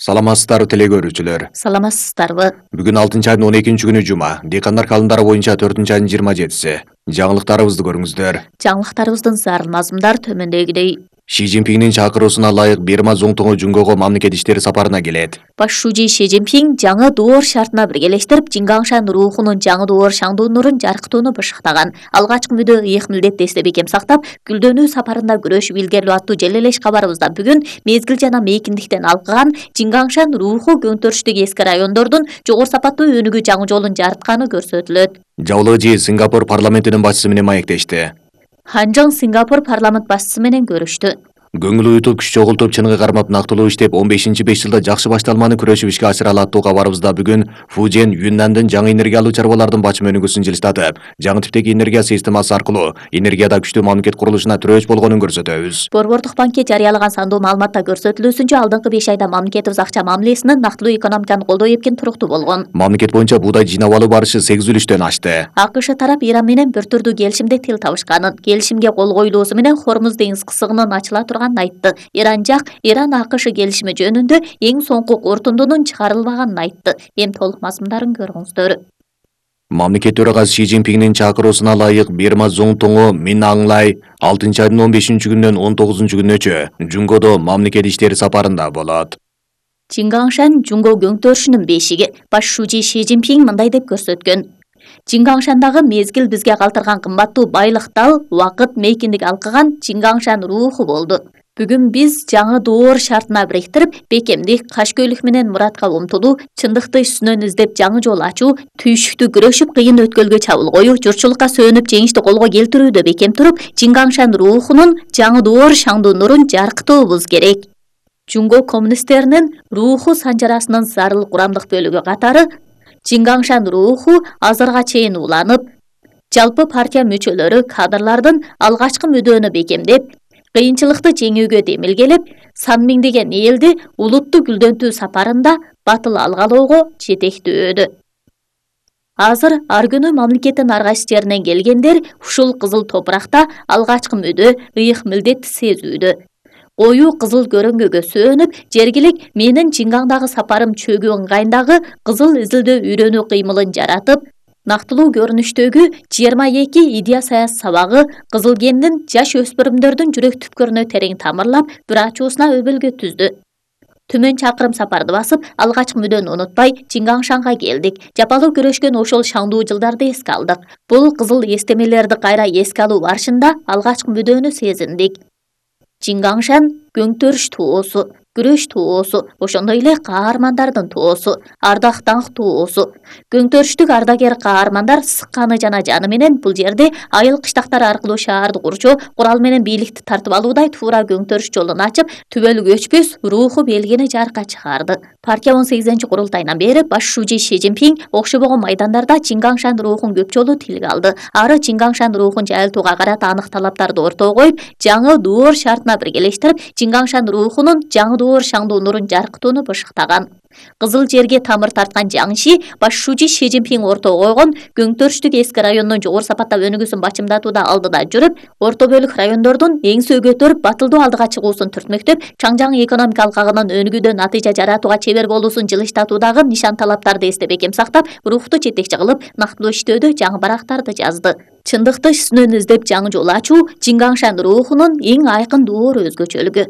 Саламатсыздарбы теле көрүүчүлөр. Саламатсыздарбы. Бүгүн 6 айдын 12 күнү жума. Декандар календары боюнча 4 айдын 27-си. Жаңылыктарыбызды көрүңүздөр. Жаңылыктарыбыздын зарыл мазмундар төмөндөгүдөй. Ши Цзиньпиңдин чакыруусуна ылайык Бирма Цзуңтуңу Жунгого мамлекет иштери сапарына келет. Баш шужи Ши Цзиньпиң жаңы доор шартына биргелештирип, Чингаңшан руухунун жаңы доор шаңдуу нурун жаркытууну бышыктаган. Алгачкы мүдө ыйык милдетти эстеп бекем сактап, гүлдөнүү сапарында күрөшүп илгерилөө аттуу желелеш кабарыбызда бүгүн мезгил жана мейкиндиктен алкыган Чингаңшан рууху көңтөрүштүк эски райондордун жогору сапаттуу өнүгүү жаңы жолун жарытканы көрсөтүлөт. Жабылыжы Сингапур парламентинин башчысы менен маектешти. Ханжаң Сингапур парламент башчысы менен көрүштү. Көңүл уютуп, күч чогултуп, чыныгы кармап нактылуу иштеп, 15-5 жылда жакшы башталманы күрөшүп ишке ашыра алаттуу кабарыбызда бүгүн Фужен, Юннандын жаңы энергия алуу чарбалардын бачым өнүгүүсүн жылыштатып, жаңы типтеги энергия системасы аркылуу энергияда күчтүү мамлекет курулушуна тирөөч болгонун көрсөтөбүз. Борбордук банки жарыялаган сандуу маалыматта көрсөтүлүүсүнчө, алдыңкы 5 айда мамлекетибиз акча мамилесинин нактылуу экономиканы колдоо эпкин туруктуу болгон. Мамлекет боюнча буудай жыйнап алуу барышы 8,3-төн ашты. АКШ тарап Иран менен бир түрдүү келишимде тил табышканын, келишимге кол коюлуусу менен Хормуз деңиз кысыгынын ачыла турганын айтты. Иран жак Иран-АКШ келишими жөнүндө эң соңку корутундунун чыгарылбаганын айтты. Эми толук мазмундарын көрүңүздөр. Мамлекет төрагасы Ши Цзиньпиңдин чакыруусуна ылайык Бирма Цзуңтуңу Мин Аңлай 6 айдын 15 күнүнөн 19 күнүнөчө Жунгодо мамлекет иштери сапарында болот. Чингаңшан Жунго көңтөрүшүнүн бешиги. Баш шужи Ши Цзиньпиң мындай деп көрсөткөн. Чингаңшандагы мезгил бизге калтырган кымбаттуу байлык дал, убакыт, мейкиндик алкыган Чингаңшан рууху болду. Бүгүн биз жаңы доор шартына бириктирип, бекемдик, кашкөйлүк менен муратка умтулуу, чындыкты үстүнөн издеп жаңы жол ачуу, түйшүктү күрөшүп, кыйын өткөлгө чабыл коюу, журтчулукка сөөнүп, жеңишти колго келтирүүдө бекем туруп, Чингаңшан руухунун жаңы доор шаңдуу нурун жаркытуубуз керек. Жунго коммунисттеринин рууху санжарасынын зарыл курамдык бөлүгү катары Чингаңшан рууху азырга чейин уланып, жалпы партия мүчөлөрү, кадрлардын алгачкы мүдөнү бекемдеп, кыйынчылыкты жеңүүгө демилгелеп, сан миңдеген элди улутту гүлдөнтүү сапарында батыл алгалоого жетектөөдү. Азыр ар күнү мамлекеттин ар кайсы жеринен келгендер ушул кызыл топуракта алгачкы мүдө, ыйык милдетти сезүүдө. Коюу кызыл көрөңгөгө сөөнүп, жергилик менин Чингаңдагы сапарым чөгүү ыңгайындагы кызыл изилдөө үйрөнүү кыймылын жаратып, нактылуу көрүнүштөгү 22 идея саяс сабагы кызыл гендин жаш өспүрүмдөрдүн жүрөк түпкөрүнө терең тамырлап, бир ачуусуна өбөлгө түздү. Түмөн чакырым сапарды басып, алгачкы мүдөнү унутпай, Чингаңшанга келдик. Жапалуу күрөшкөн ошол шаңдуу жылдарды эске алдык. Бул кызыл эстемелерди кайра эске алуу барышында алгачкы мүдөнү сезиндик. Чингаңшан көңтөрүш тоосу, күрөш тоосу, ошондой эле каармандардын тоосу, ардак даңк тоосу. Көңтөрүштүк ардагер каармандар сыкканы жана жаны менен бул жерде айыл кыштактар аркылуу шаарды курчоо, курал менен бийликти тартып алуудай туура көңтөрүш жолун ачып, түбөлүк өчпөс рууху белгини жарыкка чыгарды. Партия 18-курултайынан бери баш шужи Ши Цзиньпиң окшобогон майдандарды Чингаңшан руухун көп жолу тилге алды. Ары Чингаңшан руухун жайылтууга карата анык талаптарды ортого коюп, жаңы доор шартына биргелештирип, Чингаңшан руухунун жаңы доор шаңдуу нурун жаркытууну бышыктаган. Кызыл жерге тамыр тарткан жаңши баш шужи Ши Цзиньпиң ортого койгон көңтөрүштүк эски райондун жогору сапаттап өнүгүүсүн бачымдатууда алдыда жүрүп, орто бөлүк райондордун эңсө көтөрүп, батылдуу алдыга чыгуусун түртмөктөп, чаңжаң экономика алкагынын өнүгүүдө натыйжа жаратууга чебер болуусун жылыштатуудагы нишан талаптарды эстеп бекем сактап, рухту жетекчи кылып, нактылуу иштөөдө жаңы барактарды жазды. Чындыкты үстүнөн издеп жаңы жол ачуу Чингаңшан руухунун эң айкын доор өзгөчөлүгү.